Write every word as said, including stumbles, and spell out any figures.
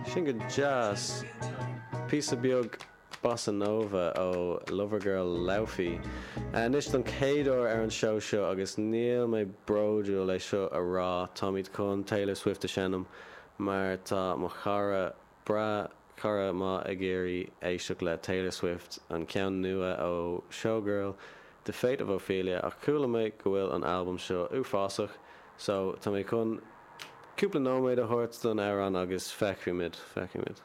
Sin go deas. Píosa beag bossa nova ó Lovergirl Laufey. Anois don chéad uair ar an seó seo agus níl mé bródúil é seo a rá táimid chun Taylor Swift a sheinm mar tá mo chara breá cara maith ag iarraidh éisteacht le Taylor Swift an ceann nua ó Showgirl The Fate of Ophelia ach chuala mé go bhfuil an albam seo uafásach so tá mé chun cúpla nóiméad a thabhairt don amhrán agus feicfimid feicfimid.